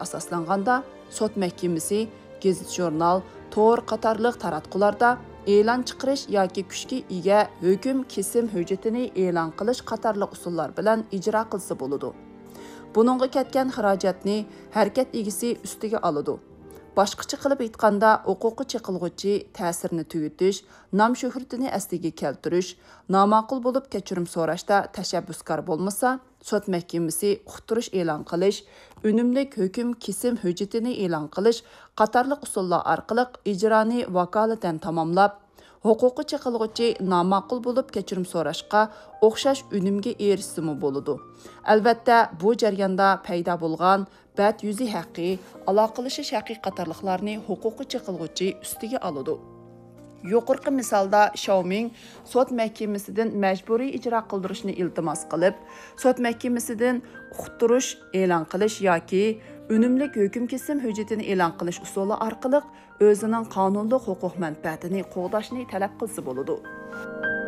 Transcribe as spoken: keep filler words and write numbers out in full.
ئاساسلانغاندا، سوت مەھكىمىسى گېزىت-ژۇرنال، تور قاتارلىق تاراتقۇلاردا ئېلان چىقىرىش ياكى كۈچكە ئىگە ھۆكۈم كېسىم ھۆججىتىنى ئېلان قىلىش قاتارلىق ئۇسۇللار بىلەن ئىجرا قىلسا بولىدۇ. بۇنىڭغا كەتكەن خىراجەتنى ھەرىكەت ئىگىسى ئۈستىگە ئالىدۇ. باشقىچە قىلىپ ئېيتقاندا، ھوقۇققا چېقىلغۇچى تەسىرنى تۈگىتىش، نام-شۆھرىتىنى ئەسلىگە كەلتۈرۈش، ناماقۇل بولۇپ كەچۈرۈم سوراشتا تەشەببۇسكار بولمىسا، سوت مەھكىمىسى ئۇقتۇرۇش ئېلان قىلىش، ئۈنۈملۈك ھۆكۈم كېسىم ھۆججىتىنى ئېلان قىلىش قاتارلىق ئۇسۇللار ئارقىلىق ئىجرانى ۋاكالىتەن تاماملاپ، ھوقۇققا چېقىلغۇچى ناماقۇل بولۇپ كەچۈرۈم سوراشقا ئوخشاش ئۈنۈمگە ئېرىشسىمۇ بولىدۇ. ئەلۋەتتە، بۇ جەرياندا پەيدا بولغان بەت يۈزى ھەققى، ئالاقىلىشىش ھەققى قاتارلىقلارنى ھوقۇققا چېقىلغۇچى ئۈستىگە ئالىدۇ. يۇقىرىقى مىسالدا شياۋمىڭ سوت مەھكىمىسىدىن مەجبۇرىي ئىجرا قىلدۇرۇشنى ئىلتىماس قىلىپ، سوت مەھكىمىسىدىن ئۇقتۇرۇش ئېلان قىلىش ياكى ئۈنۈملۈك ھۆكۈم كېسىم ھۆججىتىنى ئېلان قىلىش ئۇسۇلى ئارقىلىق ئۆزىنىڭ قانۇنلۇق ھوقۇق مەنپەئەتىنى قوغداشنى تەلەپ قىلسا بولىدۇ.